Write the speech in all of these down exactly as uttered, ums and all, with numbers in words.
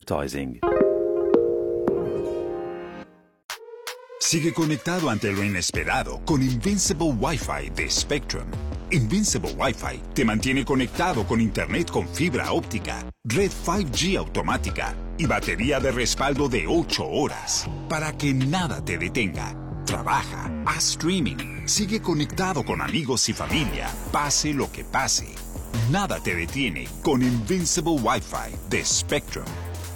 advertising. Sigue conectado ante lo inesperado con Invincible Wi-Fi de Spectrum. Invincible Wi-Fi te mantiene conectado con internet con fibra óptica, red five G automática y batería de respaldo de ocho horas para que nada te detenga. Trabaja, haz streaming, sigue conectado con amigos y familia, pase lo que pase. Nada te detiene con Invincible Wi-Fi de Spectrum.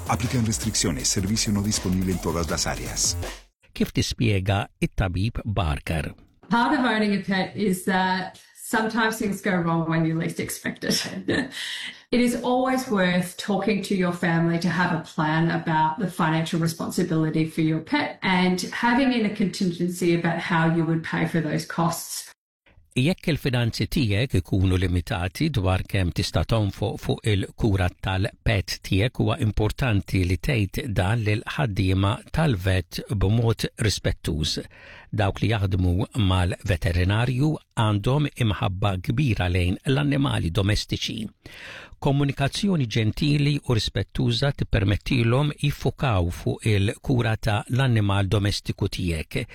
Aplican restricciones, servicio no disponible en todas las áreas. Kif tispjega it-tabib Barker. Part of owning a pet is that sometimes things go wrong when you least expect it. It is always worth talking to your family to have a plan about the financial responsibility for your pet and having in a contingency about how you would pay for those costs. Jekk il-finanzi tiegħek ikunu limitati dwar kemm tista' tonfoq fuq il-kura tal-pet tiegħek, huwa importanti li tgħid dan lil ħaddiema tal-vet b'mod rispettuż. Dawk li jaħdmu mal-veterinarju għandhom imħabba kbira lejn l-annimali domestiċi. Komunikazzjoni ġentili u rispettuża tippermettilhom jiffukaw fuq il-kura ta' l-annimal domestiku tiegħek,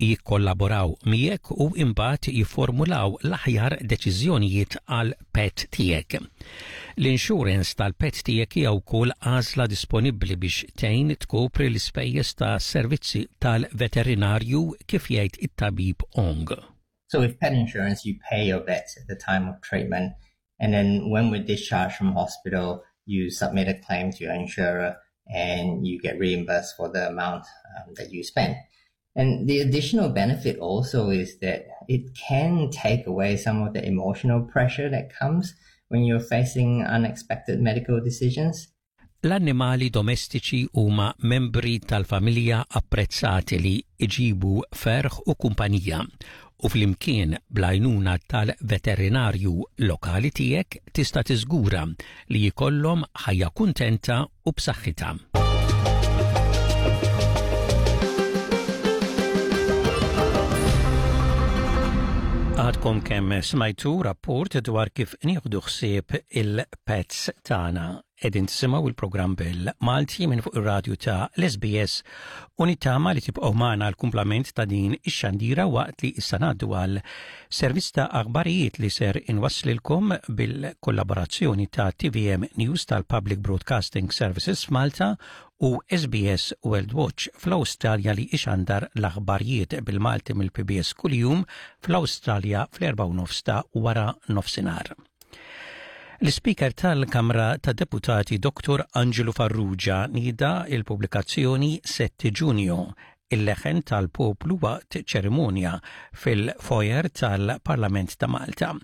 jikkollaboraw miegħek u imbagħad jifformulaw l-aħjar deċiżjonijiet għal pet tiegħek. L-insurance tal-pet tiegħek hija wkoll għażla disponibbli biex tgħin tkopri l-ispejjeż ta' servizzi tal-veterinarju, kif jgħid it-tabib Ong. So with pet insurance, you pay your vet at the time of treatment, and then when we're discharged from hospital, you submit a claim to your insurer and you get reimbursed for the amount um, that you spent. And the additional benefit also is that it can take away some of the emotional pressure that comes when you're facing unexpected medical decisions. L-annimali domestiċi huma membri tal-familja apprezzati li iġibu ferħ u kumpanija u flimkien bl-għajnuna tal-veterinarju lokali tiegħek tista' tiżgura li jkollhom ħajja kuntenta u b'saħħitha. Għadkom kemm smajtu rapport dwar kif nieħdu ħsieb il-pets tagħna. Qegħdin tisimgħu il-programm bil-Malti minn fuq ir-radju ta' l-S B S u nittama li tibqgħu magħna l-kumplament ta' din ix-xandira waqt li issa ngħaddu għal servizz ta' aħbarijiet li ser inwasslilkom bil-kollaborazzjoni ta' T V M News tal-Public Broadcasting Services Malta u S B S World Watch fl-Awstralja, li ixandar l-aħbarijiet bil-Malti mill-P B S kuljum fl-Awstralja fl-erba' nofs ta' wara nofsinhar. L-Speaker tal-Kamra ta' Deputati Doktor Angelo Farrugia nieda il-pubblikazzjoni Sette Ġunju, il-leħen tal-poplu waqt ċerimonja fil-foyer tal-Parlament ta' Malta.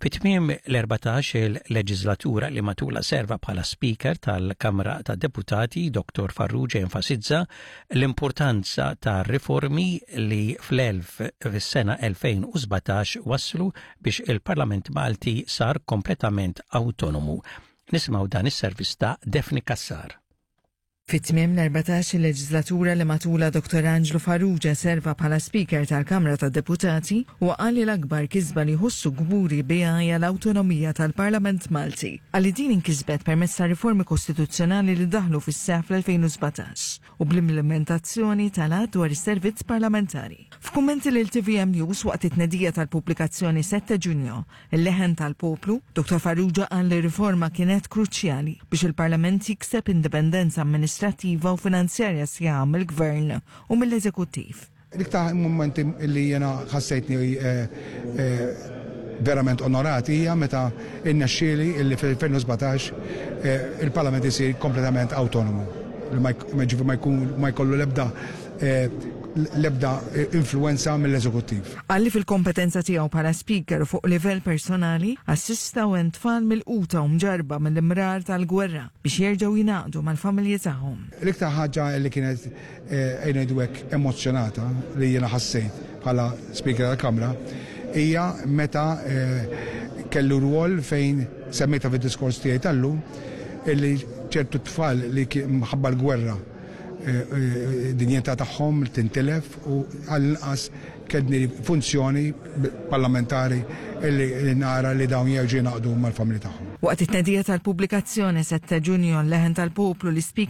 Fit-tmiem l-erbatax il-leġislatura li matula serva bħala Speaker tal-Kamra ta' Deputati, Doktor Farrugia enfasizza l-importanza ta' riformi li fl-elf fis-sena elfejn u sbatax waslu biex il-Parlament Malti sar kompletament autonomu. Nisimgħu dan is-servizz ta' Daphne Cassar. Fit-tmiem l-erbatax il-leġislatura li matula Doktor Angelo Farrugia serva bħala Speaker tal-Kamra tad-Deputati, u qal li l-akbar kisba li ħossu kburi biha hija l-awtonomija tal-Parlament Malti. Qal li din inkisbet permezz ta' riformi kostituzzjonali li daħlu fis-seħ fl-elfejn u sbatax u bl-implementazzjoni tal-Att dwar is-servizz parlamentari. F'kummenti lil T V M News waqt it-tnedija tal-pubblikazzjoni Sette Ġunju, il-leħen tal-poplu, Doktor Farrugia qal li riforma kienet kruċjali biex il-Parlament jikseb indipendenza amministrativa u finanzjarja sħiħa mill-Gvern u mill-Eżekuttiv. L-iktar momenti li jena ħassejtni eh, eh, verament onorati hija meta innexxieli illi fil-elfejn u sbatax eh, il-Parlament isir kompletament autonomu. Li ma jk- ma jkun ma jkollu l-ebda l-ebda influenza mill-eżekuttiv. Qal li fil-kompetenza tiegħu bħala Speaker fuq livell personali assista u tfal milquta u mġarba mill-imrar tal-gwerra biex jerġgħu jingħaqdu mal-familji tagħhom. L-iktar ħaġa li kienet ejja ngħidu hekk emozjonata li jiena ħassejt bħala Speaker tal-Kamra hija meta eh, kellu rwol fejn semmejta fid-diskors tiegħi tal-lum, illi ċertu tfal li minħabba l-gwerra eh, eh, dinjità tagħhom tintilef u għall-inqas kelli funzjoni parlamentari illi nara li dawn jerġgħu jingħaqdu mal-familji tagħhom. Waqt it-tnedija tal-pubblikazzjoni Sette Ġunju, l-leħen tal-poplu, l-Speaker